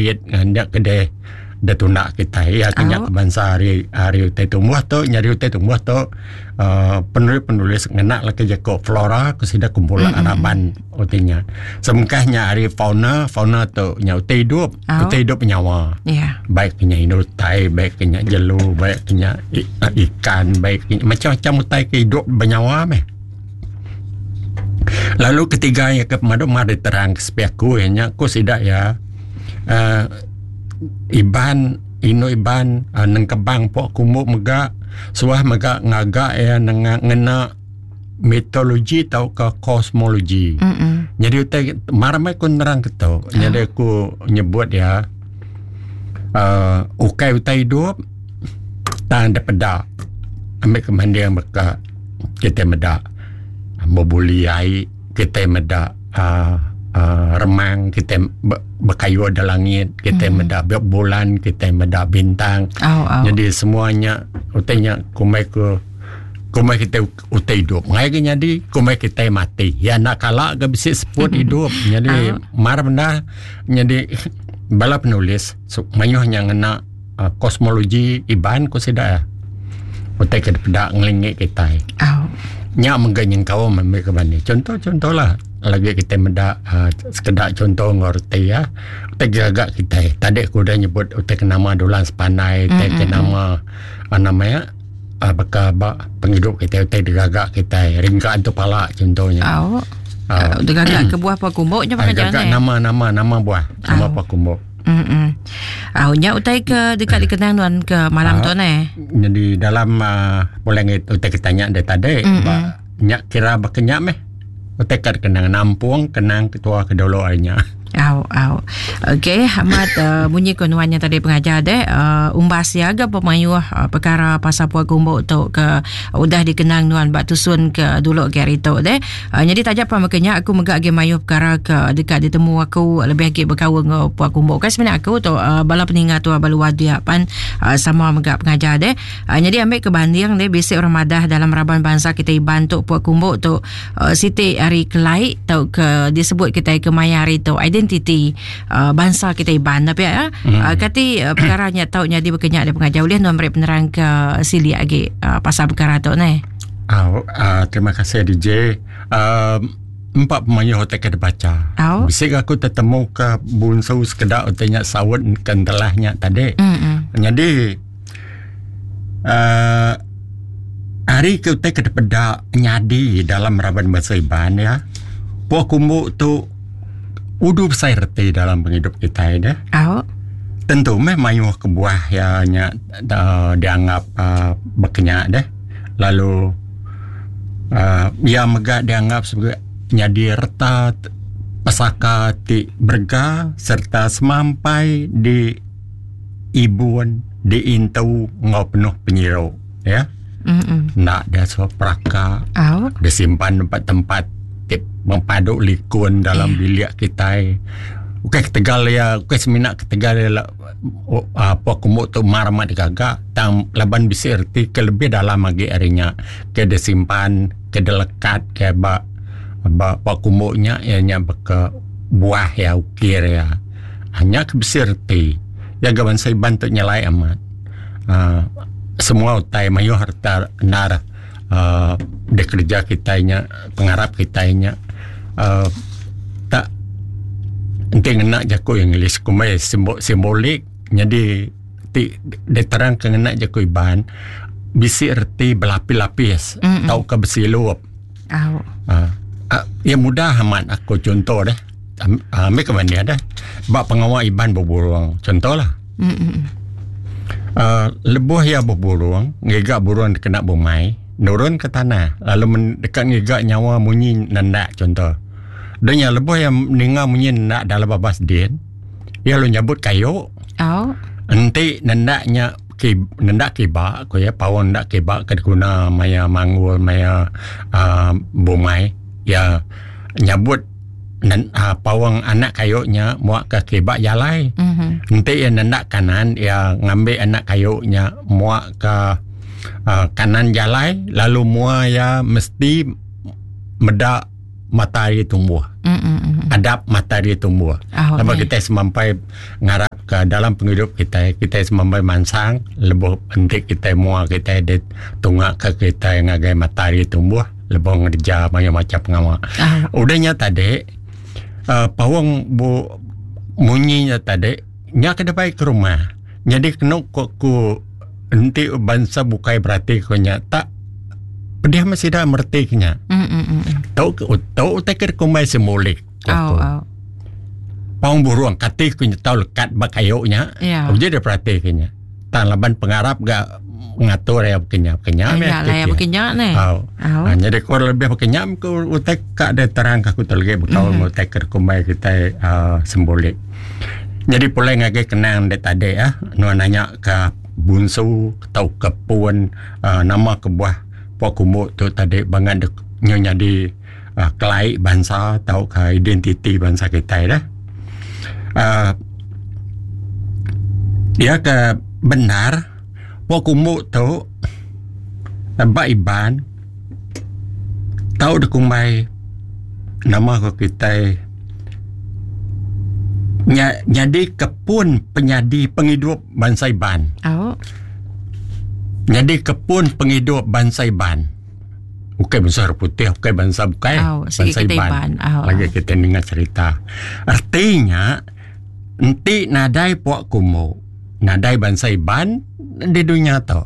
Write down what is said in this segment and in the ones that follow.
atlet nya ke deh deh tunda kitai iya ke nya ke bansa ari ari utai tumbuh tu nyadi utai tumbuh tu uhh penulis penulis ngena leka jaku flora ku sida kumpulan raban utai nya. Sebengkah nya ari fauna, fauna tu nya utai idup, utai idup nyawa. Baik ke nya indu utai, baik ke nya jelu, baik ke nya ikan, baik ke nya macam macam utai ke idup benyawa meh. Lalu ketiga iya ke pemadu mar diterang ke sepi aku iya nya ku sida iya uhh Iban indu Iban uhh nengkebang pok kumbu mega suah mega ngaga iya nengah ngena mitologi tauka kosmologi. Nyadi utai mar meh ku nerang ke tu nyadi aku nyebut iya uhh ukai utai idup tang dipeda ambi ke manding baka. Kitai meda bebuli ai, kitai meda uhh uhh remang, kitai bekayu da langit, kitai meda bulan, kitai meda bintang. Jadi semua nya utai nya kumbai ku kumbai kitai utai idup. Ngai ga nyadi kumbai kitai mati. Iya enda kala ga bisi seput idup. Nyadi mar bendar nyadi bala penulis mayuh nya ngena. Kosmologi Iban ku sida utai ke dipeda ngelingi kitai. Nya mega nyengkaum ambi ke bani. Chunto chunto lah lagi kitai meda uhh sekeda chunto enggau reti iya utai gaga kitai. Tadi aku udah nyebut utai ke nama Dulang Sepandai utai ke nama nama iya uhh baka ba pengidup kitai utai digaga kitai ringka antu pala chunto nya. Uhh digaga ke buah pua kumbu nya Gaga nama nama nama buah nama pua kumbu. Mm. Au nya utai ke deka dikenang nuan ke malam tu neh. Nyadi dalam uh, boleh ngi utai ke tanya dia tadi mm -mm. nya kira baka nya meh. Utai ke kenang nampung kenang ketua ke dulu ari nya. Au au. Okey, amat uh, bunyi ko nuan nya tadi pengajar deh uh, umbas ya ga pemayuh uh, perkara pasal pua kumbu tu ke udah dikenang nuan ba tusun ke dulu ke hari tu deh. Uh, nyadi taja pan baka nya aku mega agi mayuh perkara ke deka ditemu aku lebih agi bekaul enggau Puak Kumbu. Kai semina aku tu uh, bala peninga tua ba luar dia pan uh, sama mega pengajar deh. Uh, nyadi ambil ke banding deh bisi orang madah dalam raban bansa kita Iban tu Puak Kumbu tu uh, siti ari kelai tau ke disebut kita ke maya hari tu identiti uh, bansa kita Iban tapi ya. Hmm. Uh, kati uh, perkara nya tau nyadi baka nya deh pengajar ulih nuan meri penerang ke silik agi uh, pasal perkara tu neh. Au, uh, terima kasih DJ. Uh, empat pemayuh utai ke dibaca. Au. Bisi aku tetemu ke bunsu sekeda utai nya saut ke entelah nya tadi. Mm-mm. Jadi uh, hari ke utai ke dipeda nyadi dalam raban bansa Iban ya. Puak kumbu tu udu besai reti dalam pengidup kitai deh. Au. Tentu meh mayuh kebuah ya nya uh, dianggap uh, bekenya deh. Lalu uhh iya mega dianggap sebagai nyadi reta pesaka ti berega sereta semampai di ibun diintu enggau penuh penyiru ya. Enda diasuh peraka disimpan ba tempat ti mempadu likun dalam bilik kitai. Ukai ketegal iya ukai semina ketegal iya Aaa pok kumbu tu mar amat digaga tang laban bisi reti ke lebih dalam agi ari nya ke disimpan ke dilekat ke ba ba pok kumbu nya iya nya baka buah iya ukir iya. Nya ke bisi reti iya ga bansa Iban tu nyelai amat aaa semua utai mayuh reta endar aaa dikereja kitai nya pengarap kitai nya aaa tak enti ngena jaku English kumbai simbolik nyadi ti diterangka ngena jaku Iban bisi reti belapis-lapis tauka besilup. Aaa iya mudah amat aku chunto deh ambi ke banding deh ba pengawa Iban beburung chunto lah. Aaa lebuh iya beburung ngiga burung dikena bumai nurun ke tanah lalu deka ngiga nyawa munyi nendak chunto. Deh nya lebuh iya ninga munyi nendak dalam babas din, iya lalu nyabut kayu. Au. Enti nendak nya ki nendak kiba ku iya paung nendak kiba ke diguna maya manggul maya uhh bumai iya nyabut nen uhh paung anak kayu nya muak ke kiba jalai. Enti iya nendak kanan iya ngambi anak kayu nya muak ke uhh kanan jalai lalu mua iya mesti meda. matahari tumbuh. Adap matahari tumbuh. Laban kitai semampai ngarap ka dalam pengidup kitai, kitai semampai mansang lebuh enti kitai mua kitai di tunga ka kitai ngagai matahari tumbuh lebuh ngereja mayuh macam pengawa. Udah nya tadi uhh paung bu munyi nya tadi nya ke dibai ke rumah. Nyadi kenu ku ku enti bansa bukai berati ku nya tak pedih meh sida mereti ke nya. Tu tu utai ke dikumbai simbolik ku aku. Paung burung kati ku nya tau lekat ba kayu nya uji deh perati ke nya. Tang laban pengarap ga ngatur iya baka nya baka nya meh baka nya neh. Au. Nyadi ku lebih baka nya ku utai ka deh terang ka aku tu lagi bekaul enggau utai ke dikumbai kitai uhh simbolik. Nyadi pulai ngagai kenang dek tadi ah nuan nanya ka bunsu tauka pun uhh nama kebuah pua kumbu tu tadi bangat dek nyu nyadi uhh kelai bansa tauka identiti bansa kitai deh. uhh Iya ke bendar pua kumbu tu ba Iban tau dikumbai nama ko kitai nya nyadi ke pun penyadi pengidup bansa Iban. Nyadi ke pun pengidup bansa Iban. Ukai bansa orang putih ukai bansa bukai bansa Iban. Lagi kita ninga cerita. Reti nya enti nadai puak kumbu nadai bansa Iban di dunya tu.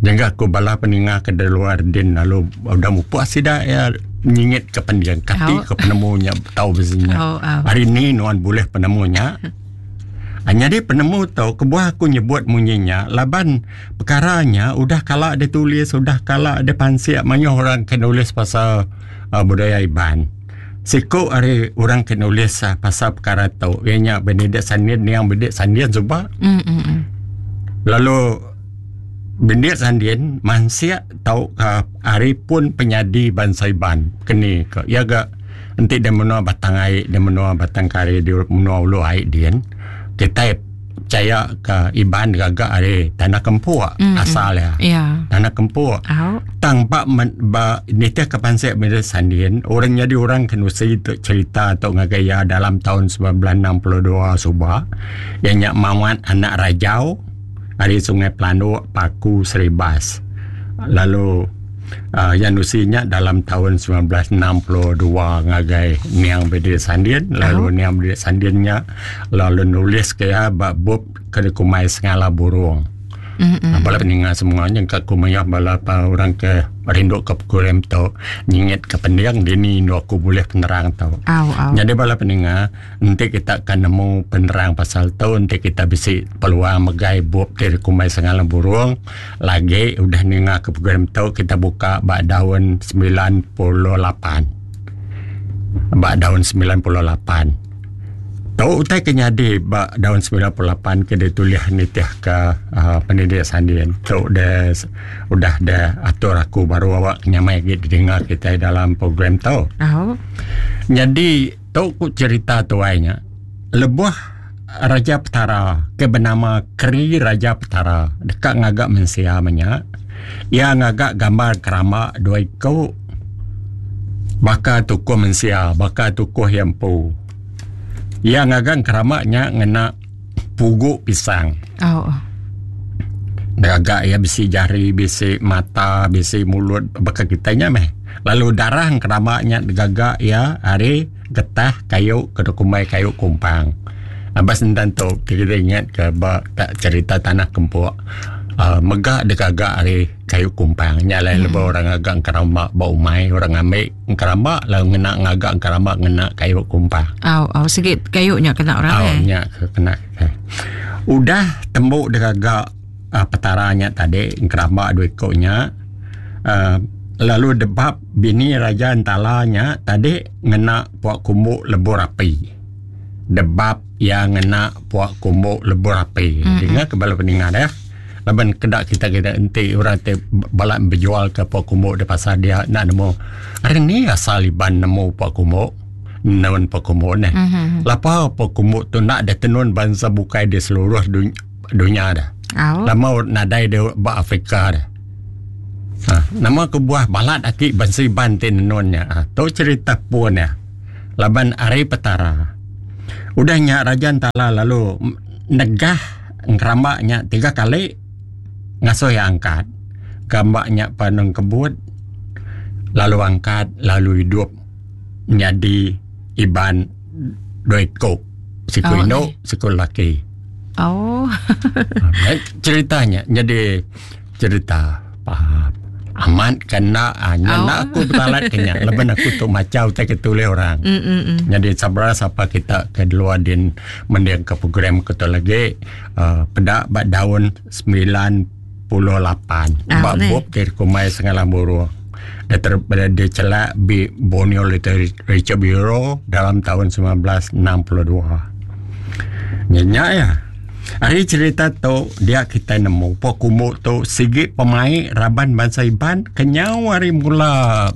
Jangka ku bala peninga ke di luar din lalu udah mupuk sida iya nyingit ke pending kati ke penemu nya tau bisi nya. Hari ni nuan bulih penemu nya. Nyadi penemu tu kebuah aku nyebut munyi nya laban perkara nya udah kala ditulis udah kala dipansik mayuh orang ke nulis pasal budaya Iban. Siku ari orang ke nulis pasal perkara tu iya nya Benedict Sandin niang Benedict Sandin suba. Lalu Benedict Sandin mansik tauka ari pun penyadi bansa Iban keni ka iya ga enti da menua Batang Ai da menua Batang Kari di menua Ulu Ai din kitai pechaya ka Iban gaga ari Tanah Kempuk asal iya. Tanah Kempuk. Tang ba ba nitih ka pansik Benedict Sandin orang nyadi orang ke nusi tu cherita tu ngagai iya dalam taun 1962 suba iya nya Mawat anak Rajau ari Sungai Pelanduk Paku Seribas lalu uhh iya nusi nya dalam taun 1962 ngagai Niang Benedict Sandin lalu Niang Benedict Sandin nya lalu nulis ke iya ba bup ke dikumbai Sengala Burung. Mm-hmm. Bala peninga semua nya ka ku mayuh bala pa orang ke rindu ke program tu nyingit ke pending dini indu aku bulih penerang tu. Au, au. Nyadi bala peninga enti kita ka nemu penerang pasal tu enti kita bisi peluang megai bup ti dikumbai Sengala Burung lagi udah ninga ke program tu kita buka ba daun 98. Ba daun 98. Tu utai ke nyadi ba daun 98 ke ditulih nitihka uhh Pendidik Sandin. Tu deh udah deh atur aku baru awak nyamai agi didinga kitai dalam program tu. Au. Nyadi tu ku cherita tuai nya lebuh Raja Petara ke benama Keri Raja Petara deka ngaga mensia menya iya ngaga gambar keramba dua iku baka tukuh mensia baka tukuh iya empu. Iya ngaga engkeramba nya ngena pugu pisang. Oh. Ngaga iya bisi jari, bisi mata, bisi mulut baka kitai nya meh. Lalu darah engkeramba nya digaga iya ari getah kayu ke dikumbai kayu kumpang. Abas endan tu kita ingat ke ba cerita tanah kempuk uhh mega digaga ari kayu kumpang. Nya alai lebuh orang ngaga engkeramba ba umai orang ngambi Engkeramba lalu ngena ngaga engkeramba ngena kayu kumpang. Au au sigi kayu nya kena orang eh. Au nya ke kena kitai. Udah tembu digaga uhh petara nya tadi engkeramba dua iku nya uhh lalu debab bini Raja Entala nya tadi ngena pua kumbu lebur api. Debab iya ngena pua kumbu lebur api. Dinga ke bala peninga deh. Laban keda kita kita enti orang ti bala bejual ke pua kumbu di pasar dia enda nemu ari ni asal Iban nemu pua kumbu nenun pua kumbu neh. Mm-hmm. Lapa pua kumbu tu enda ditenun bansa bukai di seluruh dunya dah. Au. Lama nadai di ba Afrika dah. Ha, nama kebuah balat aki bansa Iban ti nenun nya? Ha, tu cerita pun ya. Laban ari Petara. Udah nya Raja Entala lalu negah ngeramba nya tiga kali ngasuh iya angkat. Gamba nya pan engkebut lalu angkat lalu idup nyadi Iban dua iku. Siku oh, indu, siku lelaki. Oh. cerita nya jadi cerita faham. Amat kena ah, nya oh. aku betalat ke nya laban aku tu maca utai ke tulis orang. Mm, mm, mm. Jadi sabra sapa kita ke luar din mending ke program ke tu lagi uh, peda ba daun 98 ah, ba bup ke kumai Sengalang Burung. Dia ter, dia celak bi Borneo Literature Bureau dalam tahun 1962. Nya nya ya. Ari cherita tu dia kitai nemu pok kumbu tu sigi pemai raban bansa Iban kenyau ari mula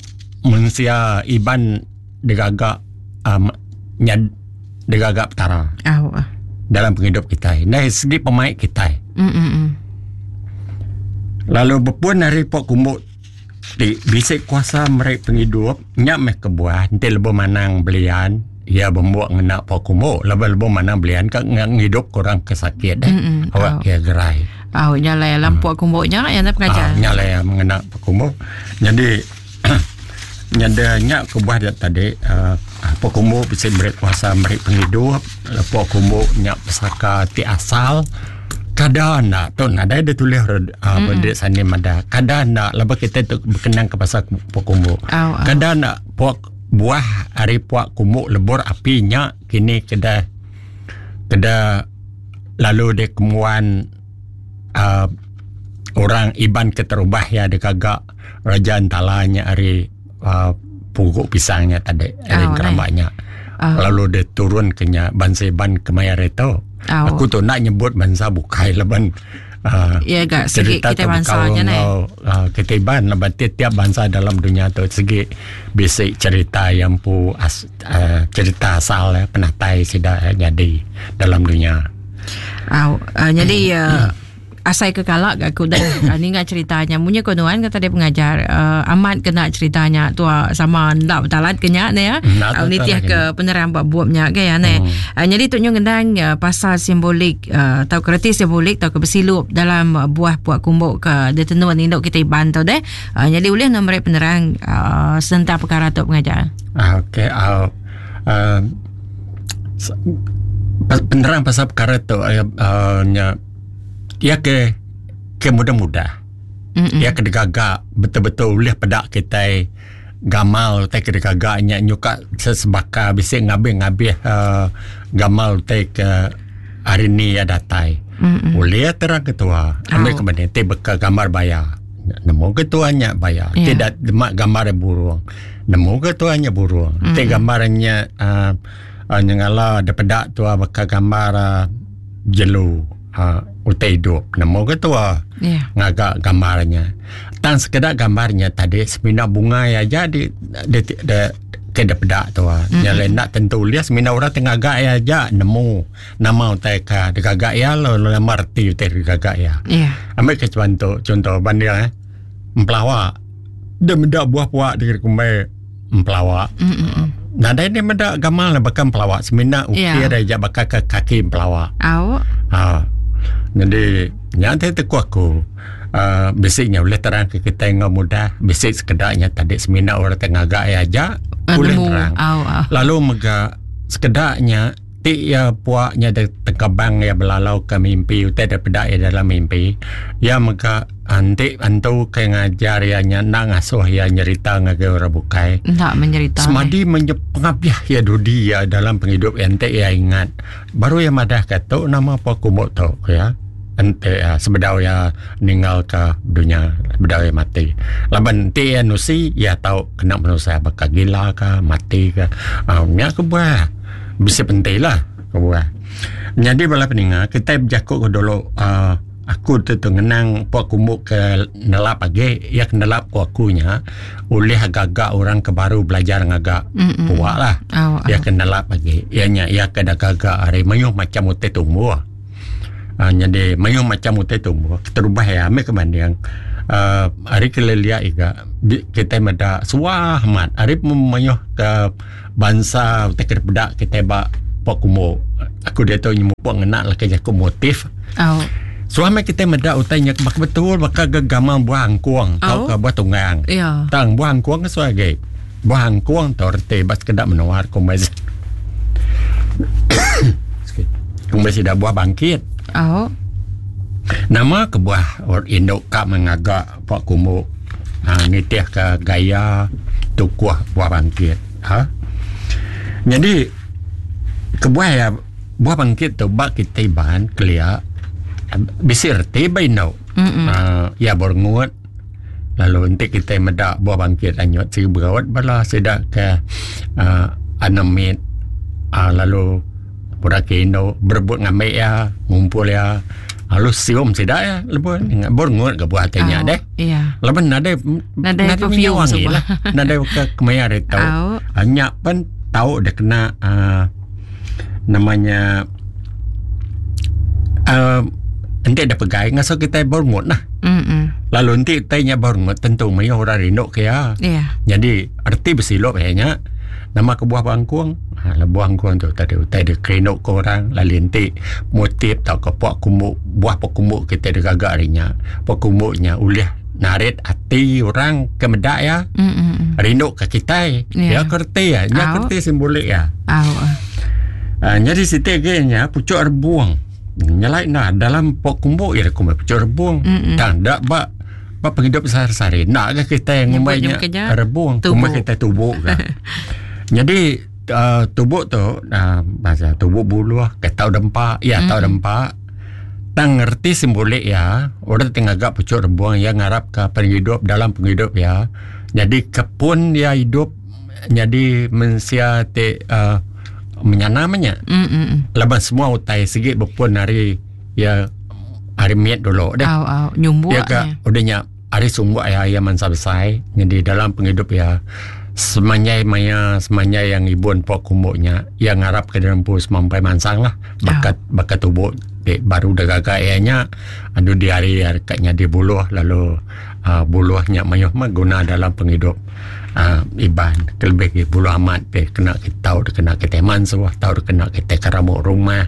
mensia Iban digaga um, nyad digaga Petara. Au. Dalam pengidup kitai. Ndai sigi pemai kitai. Mm -mm. Lalu bepun ari pok kumbu ti bisi kuasa meri pengidup nya meh kebuah enti lebuh manang belian iya bembuk ngena pok kumbu laban lebuh manang belian ka ngidup ke orang ke sakit deh mm -hmm. awak ke gerai. Au nya alai alam pok kumbu nya ya pengajar. Nya alai ngena pok kumbu. Jadi nyada nya kebuah dia tadi uh, pok kumbu bisi meri kuasa meri pengidup pok kumbu nya pesaka ti asal Kada enda tu nadai ditulis uh, mm -hmm. sani madah. Kada enda laban kita tu berkenang ke pasal puak kumbu. Oh, oh. Kada enda puak buah ari puak kumbu lebur api nya kini keda keda lalu dia kemuan uh, orang Iban keterubah ya digaga Raja Entala nya ari uh, pugu pisang nya tadi ari oh, keramba nya. Oh. Lalu dia turun ke nya bansa Iban kemaya hari tu. Oh. Aku tu nak nyebut bansa bukai laban uh, ya gak segi kita bansa nya ne. Uh, kita Iban laban tiap-tiap bansa dalam dunia tu segi bisi cerita yang pu as, uh, cerita asal ya, penatai sida ya, jadi dalam dunia. Oh, uh, jadi uh, Asai ke kala ga aku udah uh, ninga cerita nya. Munyi ko nuan kata dia pengajar uh, amat kena cerita nya tua sama enda betalat ke nya ne ya. Uh, nitih ke penerang ba bup nya ke ya ne. Hmm. Uh, jadi tu nyu ngendang uh, pasal simbolik uh, tau ke reti simbolik tau ke besilup dalam uh, buah puak kumbuk ke ditenun indu kita Iban tu deh. Uh, jadi ulih no meri penerang uh, sentang perkara tu pengajar. Ah, okey. Uh, uh, penerang pasal perkara tu uh, uh, nya Iya ke ke mudah-mudah. Iya ke digaga betul-betul ulih peda kitai gamal utai ke digaga nya nyuka sesebaka bisi ngabih-ngabih uhh gamal utai ke hari ni iya datai. Ulih terang ketua ambi ke mending ti baka gambar baya. Nemu ketua nya baya. Ti da dema gambar burung nemu ketua nya burung. Ti gambar nya uhh nyengala da peda tua baka gambar uhh jelu uh, utai hidup nemu ke tua yeah. ngaga gambarnya tang sekeda gambarnya tadi semina bungai aja di di, di, di ke depeda tua mm-hmm. nya lain nak tentu lihat semina orang tengah gak ya aja nemu nama utai ka digaga ya lalu nama reti utai digaga ya yeah. ambil ke contoh contoh banding eh empelawa dia meda buah puak di kumbai empelawa. Mm-mm. Nadai dia meda gamal baka empelawa semina ukir yeah. aja baka ke kaki empelawa. Au. Ha. Jadi nya ti teku aku. Uh, bisi nya boleh terang ke kita enggau mudah bisi sekeda nya tadi semina orang te ngaga iya aja boleh terang. Au, au. Lalu mega sekeda nya Ti iya puak nya tengkebang iya belalau ke mimpi utai da peda iya dalam mimpi. Iya mega enti antu ke ngajar iya nya enda ngasuh iya nyerita ngagai orang bukai. Enda menyerita. Semadi pengabih iya dudi iya dalam pengidup iya enti iya ingat baru iya madah ka tu nama puak kumbu tu ku iya. Enti iya sebedau iya ninggal ka dunya sebedau iya mati. Laban enti iya nusi iya tau kena penusah baka gila ka mati ka. Aaa nya kebuah. Bisi penti lah kebuah. Nyadi bala peninga kitai bejaku ke dulu uhh aku tu tu ngenang pok kumbu ke nelap agi iya ke nelap ku aku nya ulih gaga orang ke baru belajar ngaga puak lah. Iya ke nelap agi iya nya iya ke gaga ari mayuh macam utai tumbuh. Uh, nyadi mayuh macam utai tumbuh. Keterubah iya ambi ke banding uh, ari ke lelia iga kitai meda suah amat ari mayuh ke bansa utai ke dipeda kitai ba pok kumbu. Aku diatu nyemupuk ngena leka jaku motif. Oh. Suah meh kitai meda utai nya baka betul baka ga gamal buah angkung oh. tauka buah tunggang. Yeah. Tang buah angkung ke suah agi. Buah angkung tu reti ba sekeda menua kumbai Kumbai sida buah bangkit. Oh. Nama kebuah orang indu ka mengaga pok kumbu ha, nitih ke gaya tukuh buah bangkit. Ha? Jadi kebuah ya buah bangkit tu ba kita Iban kelia bisi reti ba indu. Mm Uh, ya berengut Lalu enti kitai meda buah bangkit anyut sigi beraut bala sida ke uhh anak mit uhh lalu orang ke indu berebut ngambi iya ngumpul iya lalu sium sida iya lebuh berengut ga buah ti nya deh. Laban nadai nadai perfume wangi lah nadai ke kemaya hari tu. Nya pen tau deh kena uhh nama nya uhh enti deh pegai ngasuh kitai berengut lah. Lalu enti utai nya berengut tentu mayuh orang rindu ke iya. Nyadi reti besilup iya nya nama kebuah bangkung uhh lebuh bangkung tu tadi utai dikerindu ke orang lalu enti motif tauka pua kumbu buah pua kumbu kitai digaga ari nya pua kumbu nya ulih narit ati orang ke meda iya rindu ke kitai. Iya ke reti iya nya ke reti simbolik iya. Uhh nyadi siti agi nya puchuk rebung. Nyelai enda dalam pok kumbu iya kumbai puchuk rebung. Mm-mm. Tang enda ba ba pengidup sehari-sehari enda ga kitai ngumbai Nyebut nya nya rebung tubu. kumbai kitai tubu ga. Nyadi uh, tubu tu uh, bahasa tubu buluh ke tau dempa iya tau Mm-mm. dempa tang reti simbolik iya orang ti ngaga puchuk rebung iya ngarap ka pengidup dalam pengidup iya nyadi ke pun iya idup nyadi mensia ti uh, menyana meh nya. Mm-mm. Laban semua utai sigi bepun ari iya ari mit dulu deh. Au au nyumbuk Iya ka nya. udah nya ari sumbuk iya iya mansa besai nyadi dalam pengidup iya semanjai maya semanjai iya ngibun pok kumbu nya iya ngarap ke diri empu semampai mansang lah baka baka tubu ti baru da gaga iya nya dudi hari iya ka nyadi buluh lalu uhh buluh nya mayuh meh guna dalam pengidup. uhh Iban kelebih agi bulu amat ti kena kita tau kena kitai mansuh tau kena kitai keramu rumah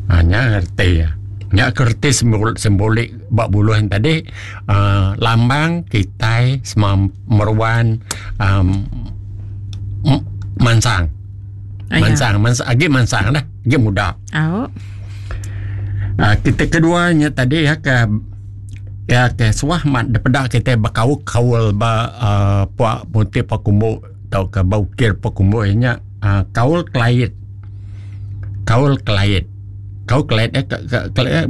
uhh nya reti iya. Nya ke reti simbolik ba buluh ne tadi uhh lambang kitai semam meruan uhh mansang. Mansang mansang agi mansang dah agi muda. Au. Uhh kita kedua nya tadi iya ke Iya ke suah amat dipeda kitai bekaul-kaul ba uhh pua muti pua kumbu tauka ba ukir pua kumbu iya nya uhh kaul kelait. Kaul kelait. Kaul kelait eh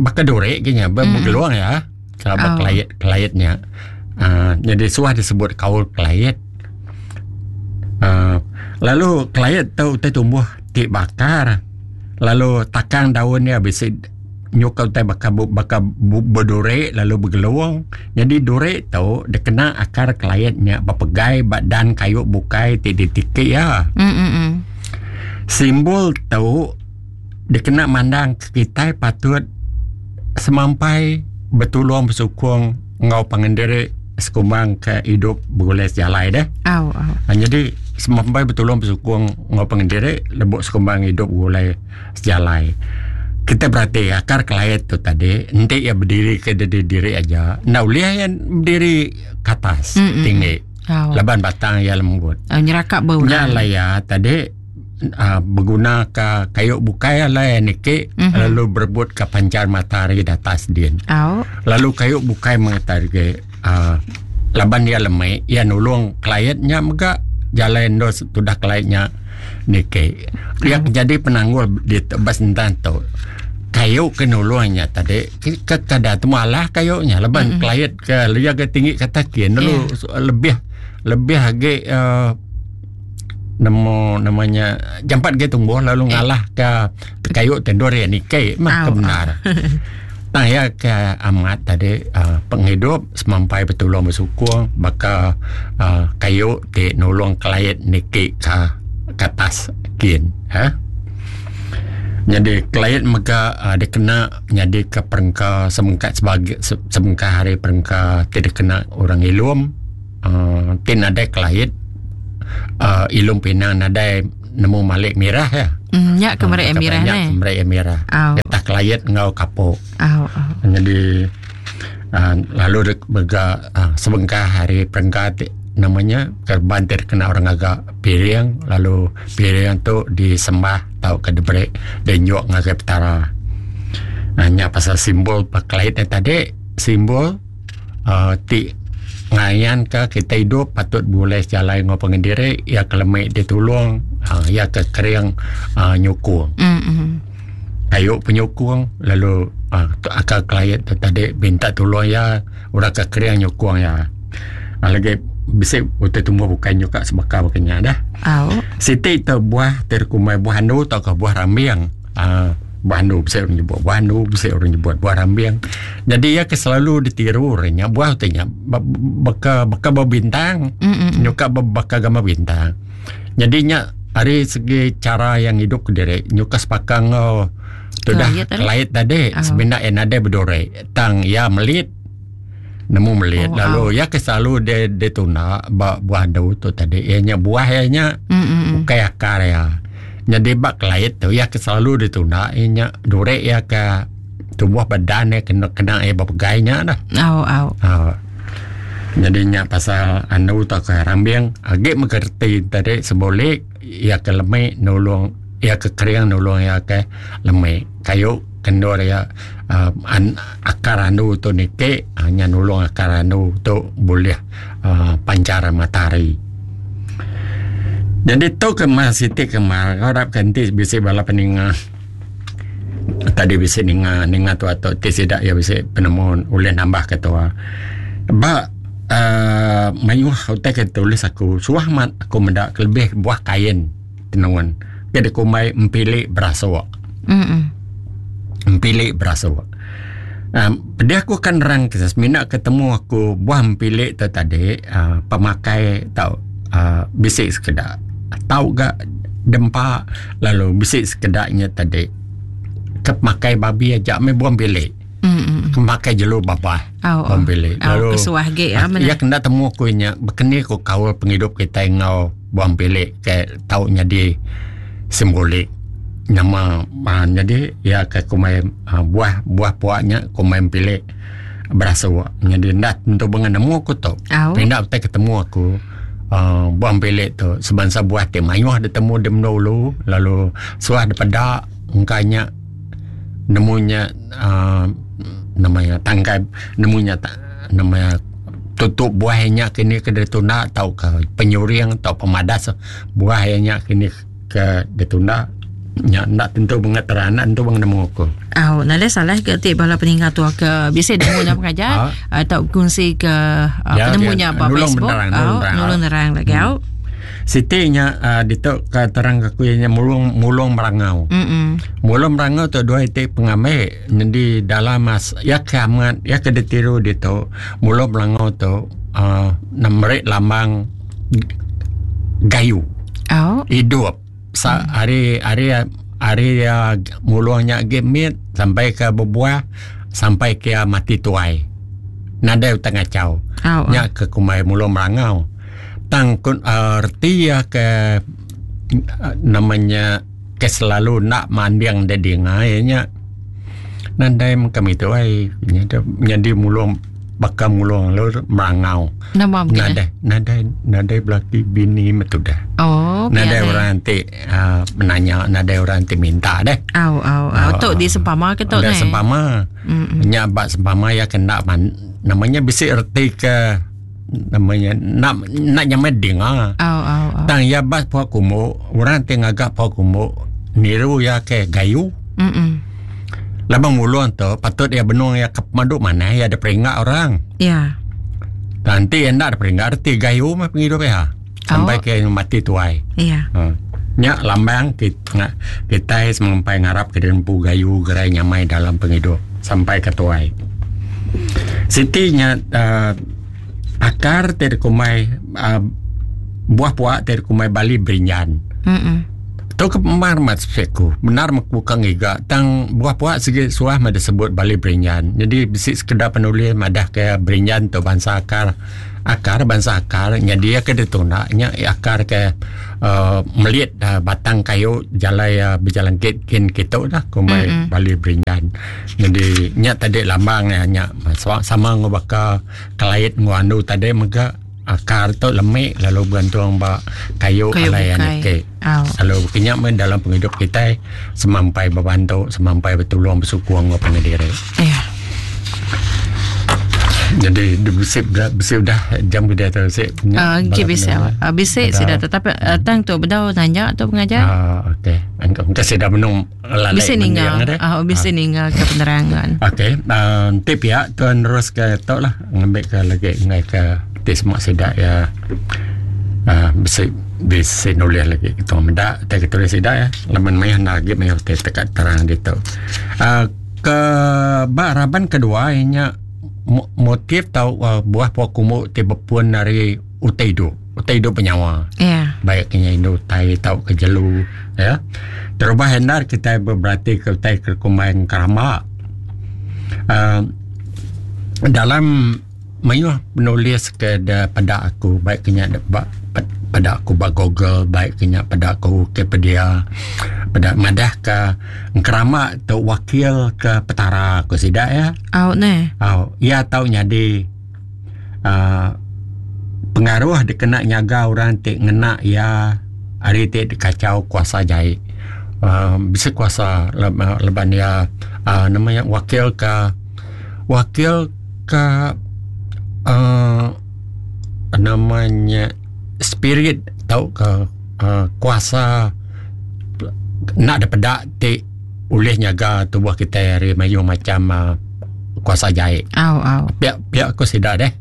baka duri ke nya ba begelung iya ba kelait kelait nya uhh nyadi suah disebut kaul kelait. Uhh lalu kelait tu utai tumbuh ti bakar lalu takang daun iya bisi. Nyuka utai baka baka beduri lalu begelung. Nyadi duri tu dikena akar kelait nya bepegai ba dan kayu bukai ti ditiki iya. Simbol tu dikena mandang ke kitai patut semampai betulung besukung enggau pangan diri sekumbang ke idup begulai sejalai deh. Nyadi semampai betulung besukung enggau pangan diri lebuh sekumbang idup begulai. Sejalai. Kita berati akar kelait tu tadi enti iya bediri ke diri diri aja enda ulih iya bediri ke atas Mm-mm. tinggi Oh. laban batang iya lembut. Oh, nyerakap ba Nya orang. alai iya tadi uh, beguna ka kayu bukai alai iya niki Mhm. lalu berebut ka pancar matahari di atas din. Oh. Lalu kayu bukai mengata agi uh, laban iya lemi iya nulung kelait nya mega jalai endur tudah kelait nya niki. Iya ke jadi penanggul di ba sentang tu kayu ke nulung nya tadi ke kada temu alah kayu nya laban kelait ke iya ke tinggi ke atas kin lalu lebih lebih agi uhh nemu nama nya jampat agi tumbuh lalu ngalah ka kayu ti endur iya niki mah ke bendar. Tang iya ke amat tadi uhh pengidup semampai betulung besukung baka uhh kayu ti nulung kelait niki ka ke atas kin uhh. Nyadi kelait mega uh, dikena nyadika perengka semengkat sebagai sebengkah hari perengka ti dikena orang ilum uh, ti nadai kelait uh, ilum pinang nadai nemu malik mirah ya. Mm, nya ke merek uh, mirah nya ke merek mirah. Oh. Getah kelait enggau kapok. Oh, oh. Jadi uh, lalu mega uh, sebengkah hari perengka ti namanya kerban ti kena orang ngaga piring lalu piring tu disembah tauka diberi dinyuk ngagai petara. Uh, nya pasal simbol pekelait tadi simbol uh, ti ngayanka kita hidup patut bulih jalai enggau pangan diri iya ke lemi ditulung uh, iya ke kering uh, nyukung. Mm-hmm. Kayu penyukung lalu uh, akal kelait tu tadi minta tulung iya orang ke kering nyukung iya. Uh, lagi bisi utai tumbuh bukai nyuka sebaka baka nya dah. Au. Siti tu buah ti dikumbai buah andu tauka buah rambing. Uh, buah andu bisi orang nyebut buah andu, bisi orang nyebut buah rambing. Jadi iya ke selalu ditiru orang nya buah utai nya baka baka bebintang. Mm-mm. Nyuka baka gambar bintang. Jadi nya ari segi cara yang hidup kediri nyuka sepaka enggau tudah Kelait tadi. kelait tadi Oh. semina iya nadai beduri tang iya melit nemu melit Oh, lalu iya ke selalu dia ditunda ba buah andu tu tadi iya nya buah iya nya Mm-mm. ukai akar iya. Jadi ba kelait tu iya ke selalu ditunda iya nya duri iya ke tubuh badan iya kena kena iya bepegai nya dah. Au au. Ha. Jadi nya pasal andu tauka rambing agi mega reti tadi simbolik iya ke lemi nulung iya ke kering nulung iya ke lemi. Kayu kendur iya uh, an, akar andu tu niki uh, nya nulung akar andu tu bulih uh, pancar matahari. Jadi tu ke mas siti ke mar harap ke enti bisi bala peninga tadi bisi ninga ninga tua tu ti sida iya bisi penemu ulih nambah ke tua. Ba uh, mayuh utai ke tulis aku suah amat aku meda kelebih buah kain tenun ke dikumbai empili berasuk. Mm-mm. Empili berasuk. Um, pedih aku akan nerang ke semina ketemu aku buah empili tu tadi uh, pemakai tau uh, bisi sekeda tau ga dempa lalu bisi sekeda nya tadi ke pemakai babi aja meh buah empili. Mm-mm. Ke pemakai jelu babah Au, buah empili. au, Lalu kesuah ge ya uh, iya kena temu aku nya bekeni ku kaul pengidup kitai enggau buah empili ke tau nyadi simbolik nama uh, jadi iya ke kumbai uh, buah buah puak nya kumbai empili berasuk. Jadi enda tentu bengan nemu aku tu. Au. Pindah utai ketemu aku uh, buah empili tu sebansa buah ti mayuh ditemu di menua ulu lalu suah dipeda engka nya nemu nya uh, namanya tangkai nemu nya ta, namanya tutup buah nya kini ke ditunda tauka penyuring atau pemadas buah nya kini ke ditunda nya enda tentu bangat terang enda tentu bangat nemu aku. Au, nadai salah ke ti bala peninga tua ke bisi nemu nya pengajar Ha? atau kongsi ke uh, Ya, penemu dia nya ba nulung Facebook. menerang, Au, nulung nerang. nulung nerang lagi au. Siti nya uh, ditu ke terang ke aku nya mulung mulung merangau. Mm. Mulung merangau tu dua iti pengambil jadi dalam mas ya ke amat ya ke ditiru ditu mulung merangau tu uh, meri lambang gayu. Au. Hidup sa hari hari hari ya mulung nya agi mit sampai ke berbuah sampai ke mati tuai. Nadai utai ngacau. Au. Nya ke kumbai mulung merangau. Tang kun uh, reti ya ke uh, namanya ke selalu nak manding dia dinga ya nya nadai kami tu ai nya jadi mulung baka mulung lalu merangau. Nama mungkin. eh? Nadai nadai nadai belaki bini metu dah. Oh, Nadai biar, eh. orang ti uh, menanya, nadai orang ti minta deh. Au au au tu di sempama ke tu Ada ne. sempama. Mm. Nya bak sempama ya kena man, namanya bisi erti ke namanya nak nak nyamai dengar. Au au au. Tang ya bas puak kumbu, orang ti ngagak puak kumbu niru ya ke gayu. Mm. Lama mulung tu patut ya benung ya ke pemadu mana ya ada peringkat orang. Ya. Nanti yang nak ada peringkat erti gayu mah penghidup ya. Sampai Oh. ke mati tuai. Ya. Ha. Nya lambang kita kita semampai ngarap ke dempu gayu gerai nyamai dalam penghidup sampai ke tuai. Siti nya uh, akar ti dikumbai uh, buah puak ti dikumbai Bali berinjan. Mm. Tu ke mar mat ku. Bendar meh ku ka ngiga tang buah puak sigi suah meh disebut bali berinjan. Nyadi bisi sekeda penulis madah ke berinjan tu bansa akar akar bansa akar nyadi iya ke ditunda nya akar ke uhh melit batang kayu jalai iya bejalangkit kin kitu lah kumbai mm -hmm. bali berinjan. Nyadi nya tadi lambang iya nya sama enggau baka kelait enggau andu tadi mega. Akar tu lemi lalu begantung ba kayu, kayu alai niki. Lalu baka nya meh dalam pengidup kitai semampai bebantu, semampai betulung besukung enggau pangan diri. Ya. Jadi bisi bisi udah jam ke diatu bisi. Ah uh, bisi. Uh, bisi sida tetapi uh, tang tu bedau nanya tu pengajar. Ah uh, okey. Engkau engkau sida benung lalai. Bisi ninga. Ah uh, bisi ninga ke penerangan. Okey, uh, enti pia tuan terus ke tu lah ngambil ke lagi ngai ke ti semua sida ya uh, bisi bisi nulis lagi kita meda tai kita tulis sida ya laban mayuh enda agi mayuh ti tekat terang ditu. Uh, ke ba raban kedua inya motif tau uh, buah pua kumbu ti bepun ari utai hidup. Utai hidup benyawa. Yeah. Baik ke nya indu utai tau ke jelu ya. Terubah endar kitai berati ke utai ke kumbai keramba. Uh, dalam mayuh penulis ke da peda aku baik ke nya ba peda aku ba Google baik ke nya peda aku Wikipedia peda madah ke engkeramba tu wakil ke petara ku sida ya. Au neh. Au iya tau nyadi uhh pengaruh dikena nyaga orang ti ngena iya ari ti dikachau kuasa jai uhh bisi kuasa laban iya uhh nama iya wakil ka wakil ka uhh nama nya spirit tauka uhh kuasa enda dipeda ti ulih nyaga tubuh kitai ari mayuh macam uhh kuasa jai. Au au. Pia pia ku sida deh.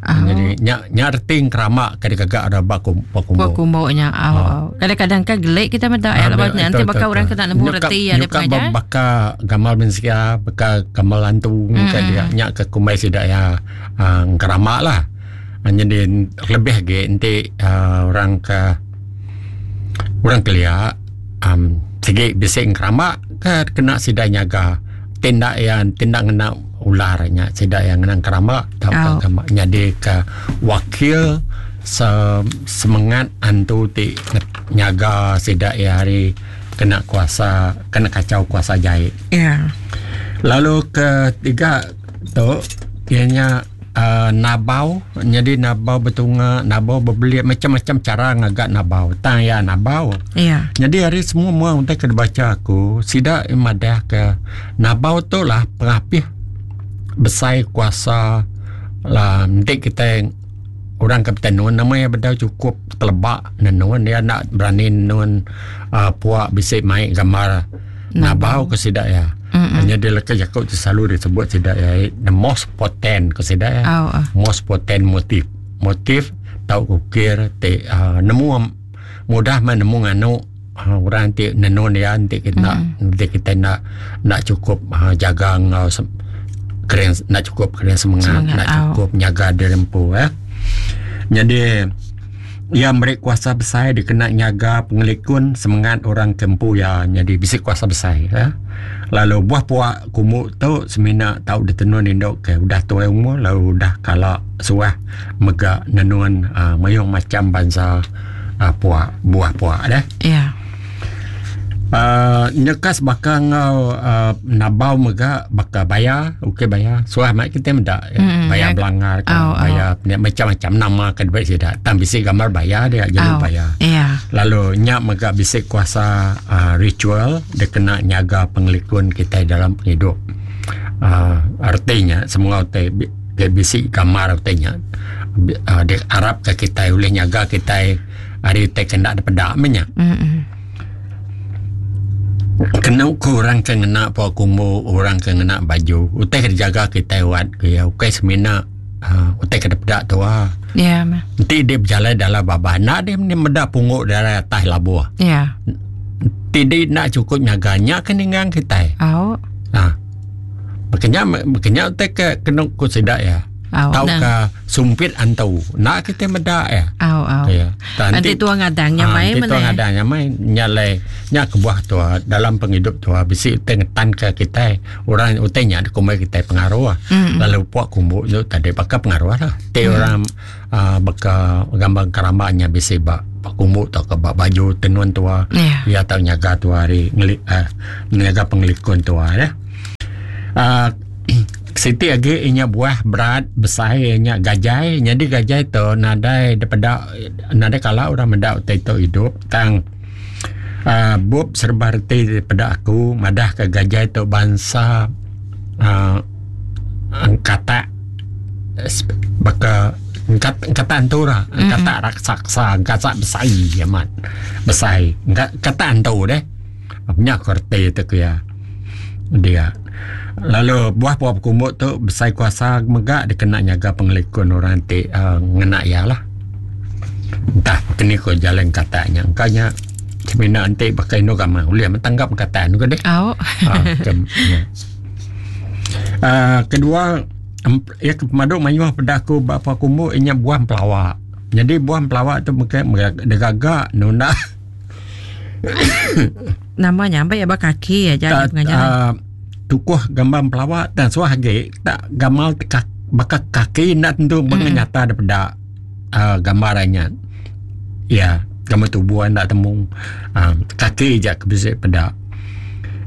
Au. Jadi nya nya reti ngerama ke digaga ra ba kum ba kumbu. Ba kumbu nya. Au Ha. au. Kadang-kadang kan gelik kita meda ya Ah, laban betul, nanti baka betul, orang betul. kena nemu Nyuka reti ya dia nyuka pengajar. baka gamal mensia, baka gamal antu ke dia Mm. nya ke kumbai sida ya ah, ngerama lah. Ah, Jadi lebih agi enti ah, orang ke orang kelia um, sigi bisi ngerama ke kena sida nyaga tindak iya tindak ngena ular nya sida iya ngena ngerama tauka oh. nyadi ke wakil se semengat antu ti nyaga sida iya hari kena kuasa kena kacau kuasa jai. Ya. Yeah. Lalu ketiga tu iya nya uhh nabau nyadi nabau betunga nabau bebelit macam-macam cara ngaga nabau tang iya nabau. Iya. Nyadi ari semua mua utai ke dibacha aku sida madah ke nabau tu lah pengapih besai kuasa la enti kitai orang ke betenun nama iya bedau chukup teleba nenun iya enda berani nenun uhh pua bisi mai gambar nabau ke sida iya. Nyadi leka jaku ti selalu disebut sida iya the most potent ku sida iya. Most potent motif. Motif tau ukir ti uhh nemu mudah meh nemu nganu uhh orang ti nenun iya enti kita enti kita enda enda chukup uhh jaga enggau kering enda chukup kering semengat enda chukup nyaga diri empu eh. Nyadi Iya meri kuasa besai dikena nyaga pengelikun semengat orang ke empu iya nyadi bisi kuasa besai. Lalu buah pua kumbu tu semina tau ditenun indu ke udah tuai umur lalu udah kala suah mega nenun uhh mayuh macham bansa uhh pua buah pua deh. Iya. Uhh nyekas baka enggau uhh nabau mega baka baya ukai baya suah mai kitai meda baya belangar ka baya macam-macam nama ke diberi sida tang bisi gambar baya dia jelu baya. Lalu nya mega bisi kuasa uhh ritual dikena nyaga pengelikun kitai dalam pengidup uhh reti nya semua utai ke bisi gambar utai nya uhh diarap ka kitai ulih nyaga kitai ari utai ke enda dipeda meh nya. Kenu ku orang ke ngena pua kumbu orang ke ngena baju utai ke dijaga kitai wat ku iya ukai semina uhh utai ke dipeda tuwa. Iya meh. Enti deh bejalai dalam babas enda deh meda punggu dalam atas labuh. Iya. Enti deh enda chukup nyaga nya ke ninggang kitai. Au. Uhh. Baka nya baka nya utai ke kenu ku sida iya. Tauka sumpit antu. Enda kitai meda iya. Au au. Ya. Enti tua ngadang nya mai mene. Enti tua ngadang nya mai nya alai nya kebuah tua dalam pengidup tua bisi utai ngetanka kitai. Orang utai nya dikumbai kitai pengaruh. Lalu puak kumbu tu tadi baka pengaruh lah. Ti orang uhh baka gambar keramba nya bisi ba kumbu tauka ba baju tenun tua. Iya tau nyaga tua ari ngeli uhh nyaga pengelikun tua ya. Uhh siti agi inya buah berat besai iya nya gajai. Nyadi gajai tu nadai dipeda nadai kala orang meda utai tu idup tang uhh bup serba reti dipeda aku madah ka gajai tu bansa uhh katak baka katak antu ra katak raksasa katak besai amat besai katak antu deh. Nya ku reti tu ku iya. Dia. Lalu buah pua bekumbu tu besai kuasa mega dikena nyaga pengelikun orang ti uhh ngena iya lah. Entah keni ku jalai engkatak nya. Engka nya semina enti baka indu gamang ulih meh tanggap engkatak ne ku deh. Au. Uhh kedua iya ke pemadu mayuh peda aku ba pua kumbu iya nya buah empelawa. Nyadi buah empelawa tu mega digaga nunda. Nama nya ambai ba kaki aja nya pengajar. Uh, tukuh gambar pelawa dan suah agi tak gamal ka, baka kaki enda tentu mm. -hmm. nyata daripada uh, gambar nya. Ya, gambar tubuh enda temu. Uh, kaki aja ke bisi peda.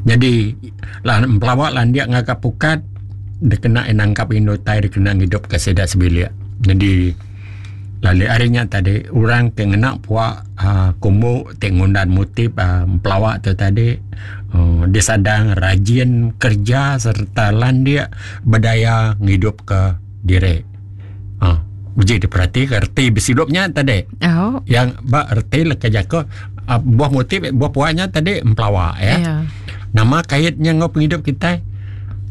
Jadi lah pelawa landik ngaga pukat dikena nangkap indu tai dikena ngidup ke sida sebilik. Jadi Lalu ari nya tadi orang ke ngena pua uhh kumbu ti ngundan motif uhh empelawa tu tadi uhh disadang rajin kerja sereta landik bedaya ngidup ke diri. uhh Uji diperatika reti besidup nya tadi. Yang ba reti leka jaku uhh buah motif buah pua nya tadi empelawa ya. Nama kait nya enggau pengidup kitai?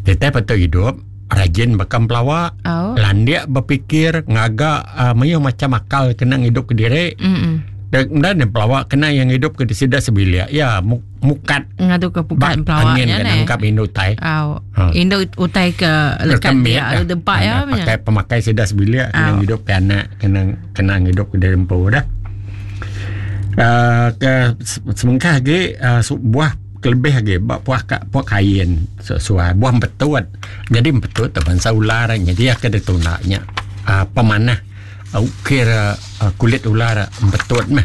Kitai patut idup. Rajin baka empelawa, oh. landik bepikir, ngaga uh, mayuh macam akal kena ngidup ke diri. Mm Dan dan empelawa kena yang ngidup ke sida sebilik. Ya, mukat. Ngadu ke pukat empelawa nya ne. Nangkap indu utai. Oh. Ha. Indu utai ke lekat dia, ya. dempak ya. Pakai pemakai sida sebilik kena oh. ngidup ke anak, kena kena ngidup ke diri empu dah. Uh, ke semengkah lagi uh, buah Kelebih agi ba puah ka puah kain suah buah empetut. Nyadi empetut tu bansa ular nyadi ke ditunda nya uhh pemanah ukir kulit ular empetut meh.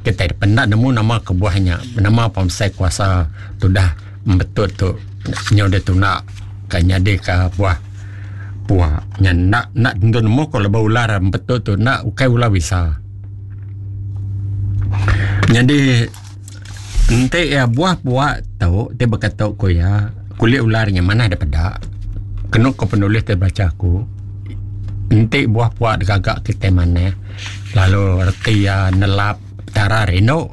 Kitai penda nemu nama kebuah nya nama pemesai kuasa tudah empetut tu nyau ditunda ka nyadi ka buah pua. Nya enda enda tentu nemu ko lebuh ular empetut tu enda ukai ular bisa. Nyadi. Enti iya buah pua tu ti beketu ku iya kulit ular nya manah da peda kenu ko penulis ti bacha aku enti buah pua digaga kitai manah lalu reti iya nelap petara rindu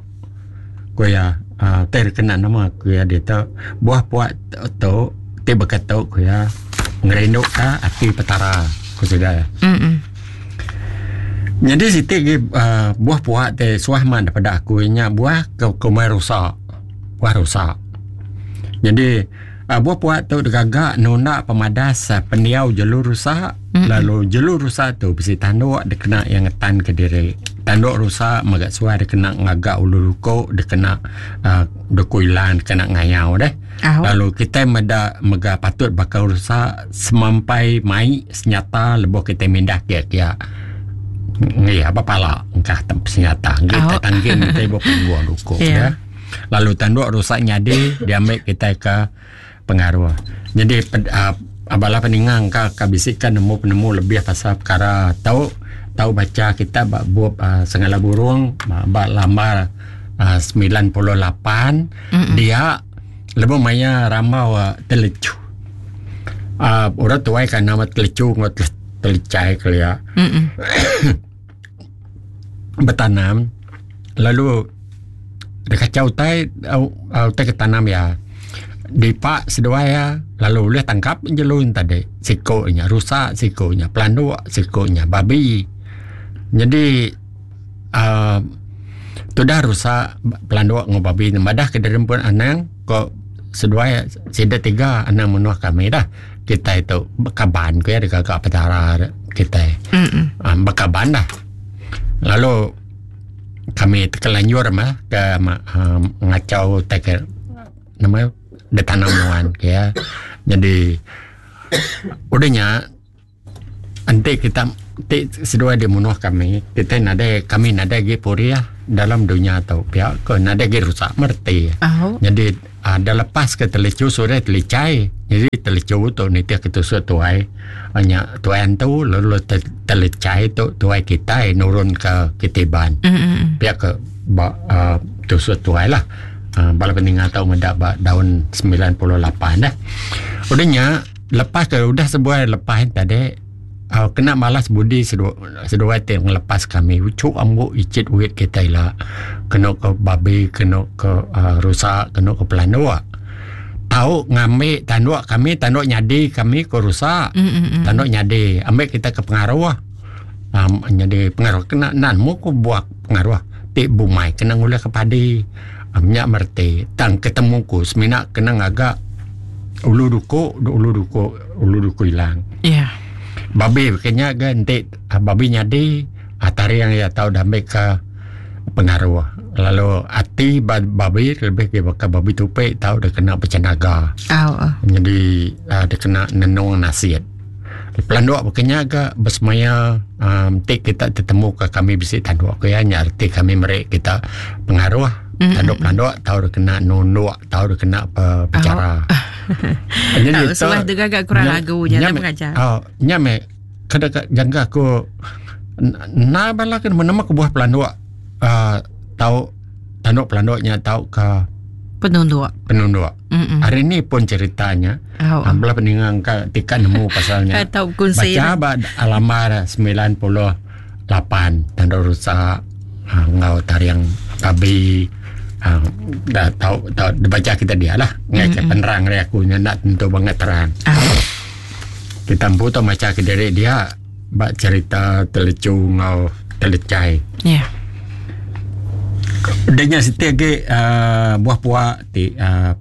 ku iya uhh ti kena nama ku iya ditu buah pua tu ti beketu ku iya ngerindu ka ati petara ku sida iya. Nyadi siti agi uhh buah pua ti suah man daripada aku inya buah ke kumbai rusa. Buah rusa. Nyadi uhh buah pua tu digaga nunda pemadas pendiau jelu rusa lalu jelu rusa tu bisi tanduk dikena iya ngetan ke diri. Tanduk rusa mega suah dikena ngaga ulu luko dikena uhh duku ilan dikena ngayau deh. Lalu kitai meda mega patut baka rusa semampai mai senyata lebuh kitai mindah kia-kia. Ngi aba pala engkah senyata ngi Au. tai tanggin kitai ba punggung duku Ya. ya. Lalu tanduk rusa nyadi diambi kitai ke pengaruh. Jadi ped, uh, bala peninga engka ka bisi ka nemu penemu lebih pasal perkara tau tau bacha kita ba bup uh, Sengala Burung ba, ba lambar uh, 98 Mm-mm. dia lebuh maya rambau uh, telechu. Uh, orang tuai kan nama telechu enggau telecai kelia. Mm-mm. Betanam lalu dia kacau utai uh, utai ke tanam ya. Dipa seduai ya lalu ulih tangkap jelu tadi. Siko nya rusa, siko nya pelanduk, siko nya babi. Jadi uh, tudah rusa pelanduk enggau babi madah ke diri empu anang ko. seduai sida tiga anang menuh kami dah. Kitai tu bekaban ku iya digaga petara kitai. Um, bekaban dah. Lalu kami tekelanjur mah ke um, ngachau tai ke nama ditanam nuan ke ya. Jadi udah nya enti kita ti seduai dimunuh kami kita nadai kami nadai agi purih dalam dunya tu pia ko nadai agi rusak mereti. Oh. Jadi uh, dah lepas ke telicu sudah telicai. Jadi telicu tu nitih ke tusuk tuai nya tuai antu lalu telicai tu tuai kitai nurun ke kitiban. Mm-hmm. Pia ke ba uh, tusuk tuai lah. Uh, bala peninga tau meda ba daun 98 dah. Udah nya lepas ke udah sebuai lepas tadi uh, kena malas budi seduai seduai ti ngelepas kami uchu ambu icit wit kita ila kena ke babi kena ke uh, rusa kena ke pelanduk tau ngambi tanduk kami tanduk nyadi kami ke rusa mm-hmm. tanduk nyadi ambil kita ke pengaruh um, nyadi pengaruh kena nan mu ku buah pengaruh ti bumai kena ngulih ke padi um, nya merti tang ketemu ku semina kena ngaga ulu duku ulu duku ulu duku ilang Ya. Babi kenya ga enti ah, babi nyadi ah, taring iya tau diambil ke pengaruh lalu ati babi lebih ke baka babi tupi tau dikena bechenaga Oh. oh. jadi uh, dikena nenung nasit pelanduk baka nya ga besemaya um, ti kita tetemu ke kami bisi tanduk ke ya nya reti kami meri kita pengaruh tanduk pelanduk tau dikena nunduk tau dikena pe, pecara. Oh. Jadi Tau suah tu gagak kurang lagu nya dah pengajar. Oh, nya me kada jangka aku na bala ke nama kebuah pelanduk uh, tau tanduk pelanduk nya tau ke Penunduk. penunduk. Mm-mm. Hari ni pun ceritanya. Oh. Oh. Bala peninga ka tika nemu pasalnya. Tau kunsi. Baca ba alamar 98 tanduk rusak uh, ngau tariang babi uh, dah tau tau dibaca kita dia lah. Ngai mm-hmm. penerang dari aku nya nak tentu banget terang. Oh. Kita empu tau maca ke diri dia ba cerita telecu ngau telecai. Ya. Dia nya siti agi uh, buah puak ti uh,